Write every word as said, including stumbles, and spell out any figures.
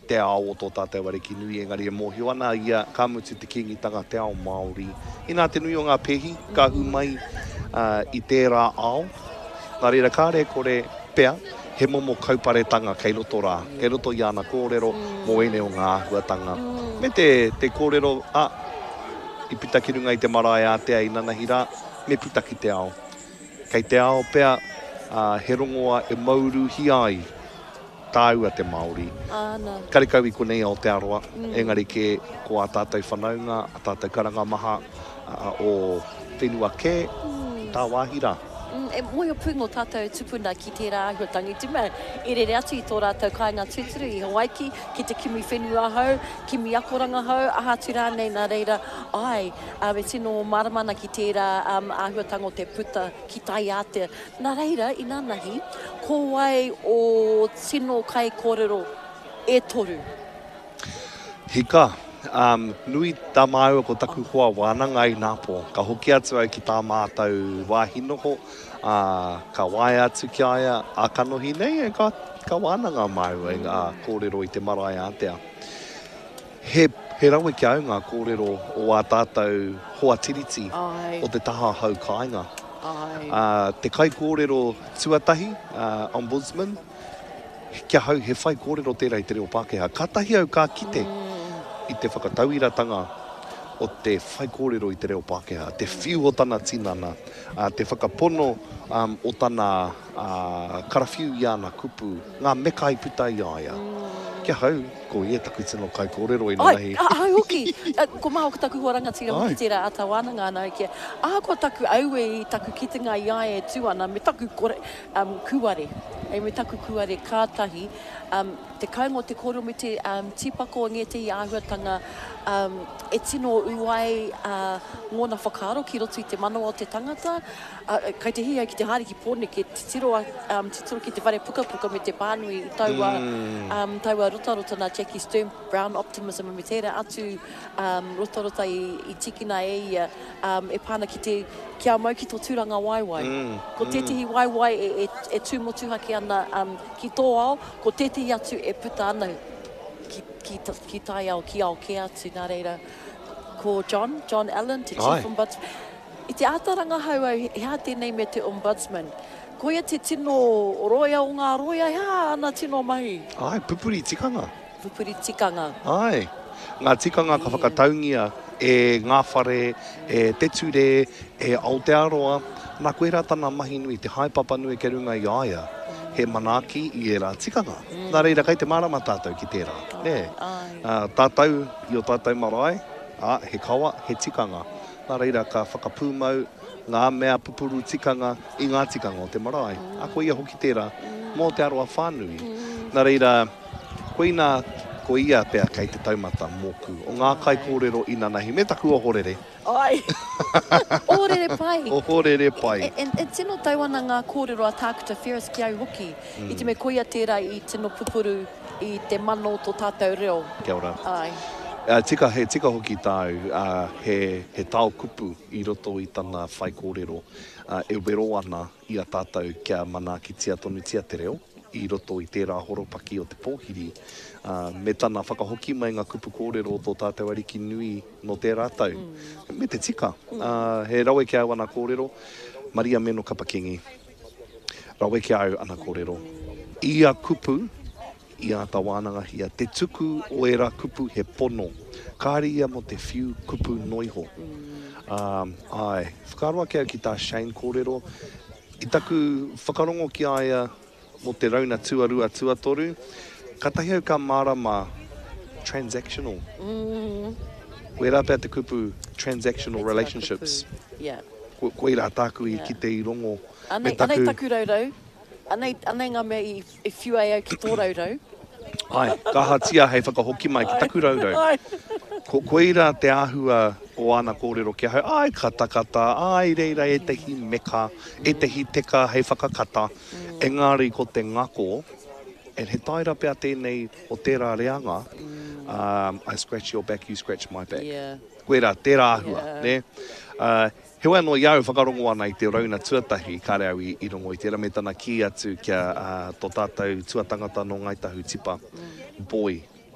te ao o tō tātou ariki nui, engari e mōhio ana ia ka mutu te Kīngitanga te ao Māori. Inā te nui o ngā pēhi ka hū mai uh, i tērā ao. Nā reira kāre kore pea, he momo kauparetanga kei roto rā, kei roto i ana kōrero mō ēnei o ngā āhuatanga. Me te, te kōrero, a, i puta ki runga i te marae ātea i nanahi rā, me puta ki te ao. Kei te ao pea, uh, he rongoa e mauruhia ai tāua te Māori. Āna. Karekau i konei Aotearoa, mm. engari ke ko ā tātou whanaunga, ā tātou karanga maha uh, o whenua kē, mm. tā wāhi rā. Mm, e mōhio pū ngō tātou tupuna ki tērā āhuatanga. I te mea, i rere atu i tō rātou kāinga tūturu i Hawaiki ki te kimi whenua hou, kimi akoranga hou, aha atu rānei nā reira, ai, um, e tino mārama ana ki tērā um, āhuatanga o te puta ki tai ātea. Nā reira, inanahi, ko wai o tino kaikōrero e toru? Hika, um, nui tā māua ko taku hoa wānanga i Nāpō. Ka hoki atu au ki tā mātou wāhi noho, uh, ka waea atu ki a ia a kanohi nei, e ka, ka wānanga māua i ngā kōrero i te marae ātea. He, he rawe ki au ngā kōrero o ā tātou hoa tiriti Ai. o te taha hau kāinga. Ai. Uh, te kaikōrero tuatahi, uh, Ombudsman, kia hau he whai kōrero tērā i te reo Pākehā. Kātahi au ka kite i te whakatauiratanga o te whai kōrero i te reo Pākehā, te whiu o tana tinana, uh, te whakapono um, o tana uh, karawhiu i ana kupu, ngā meka i puta i a ia. Kia hau, ko ia taku tino kaikōrero i Ai, nanahi. a, au hoki. A, Ko maha o taku hoa rangatira hoki Ai. tērā āta wānanga ana au kia. Ahakoa taku aue i taku kitenga i a ia e tū ana, me taku kore, um, kūare. E, me taku kūare kātahi. Um, te kainga o te kōrero me te um, tīpako o ngētehi āhuatanga um, e tino ū ai uh, ngōna whakaaro ki roto i te manawa o te tangata. Uh, kai te hiahia ki te haere ki Pōneke, titiro, um, titiro ki te whare pukapuka me te pānui i taua, mm. um, taua rotarota nā Jackie Sturm, Brown Optimism, me tērā atu um, rotarota i, i tikina e ia um, e pāna ki te kia mau ki tō tūranga waewae. Mm, Ko tētehi waewae e, e, e tū motuhake ana um, ki tō ao, ko tētehi atu e puta ana ki, ki, ki tai ao, ki ao kē atu. Nā reira, ko John, John Allen, te Ai. Chief Ombudsman. I te āta rangahau au, he aha tēnei me te Ombudsman. Koia te tino roia o ngā roia, he aha ana tino mahi? Ai, pupuri tikanga. Pupuri tikanga. Ai, ngā tikanga ka whakataungia e ngā whare, e te ture, e Aotearoa. Nā koe rā tana mahi nui, te haepapa nui ke runga i a ia, he manaaki i ērā tikanga. Mm. Nā reira, kei te mārama tātou ki tērā. Nē. Ai. Uh, tātou i o tātou marae, a, he kawa, he tikanga. Nā reira, ka whakapūmau ngā mea pupuru tikanga i ngā tikanga o te marae. Mm. A ko ia hoki tērā, mō Aotearoa whānui. Mm. Nā reira, koina, ko ia pea kei te taumata mōku. O ngā kaikōrero i nanahi, me taku ohorere. Ai. Ohorere pai. Ohorere pai. E, e, e tino tau ana ngā kōrero a Tākuta Ferris ki au hoki. Mm. I te mea koia tērā i tino pupuru i te mana o tō tātou reo. Kia ora. Ai. Uh, tika, he tika hoki tāu, uh, he, he tao kupu i roto i tana whai kōrero uh, e wero ana i a tātou kia manaakitia tonutia te reo i roto i tērā horopaki o te pōhiri, uh, me tana whakahoki mai ngā kupu kōrero o tō tātou ariki nui no tērā tau. Mm. Me te tika, uh, he rawe ki au ana kōrero, Maria Meno Kapakingi, rawe ki au ana kōrero. Ia kupu, i āta wānangahia, te tuku o ērā kupu he pono. Kāre ia mō te whiu kupu noiho. Um, ai, whakaaro ake au ki tā Shane kōrero, i taku whakarongo ki a ia mō te rauna tuarua tuatoru, kātahi au ka mārama transactional. Mm. Koirā pea te kupu transactional relationships. Yeah. Ko, koirā tāku i Yeah. kite i rongo. Anei, Me taku- anei taku raurau. Anei, anei ngā mea i, i whiu ai au ki tō raurau. Ai, ka ahatia hei whakahoki mai ki taku raurau. Ai. Ko, koirā te āhua o ana kōrero ki ahau, ai katakata, ai reira ētehi meka, ētehi teka hei whakakata. Engari ko te ngako, and he taira pea tēnei o tērā reanga, um, I scratch your back, you scratch my back. Yeah. Koirā, tērā āhua, Yeah. ne? Uh, heoi anō i au whakarongo ana i te rauna tuatahi, kāre au i, i rongo i tērā, me tana kī atu kia uh, tō tātou tuatangata nō Ngāi Tahu Tipa, boy.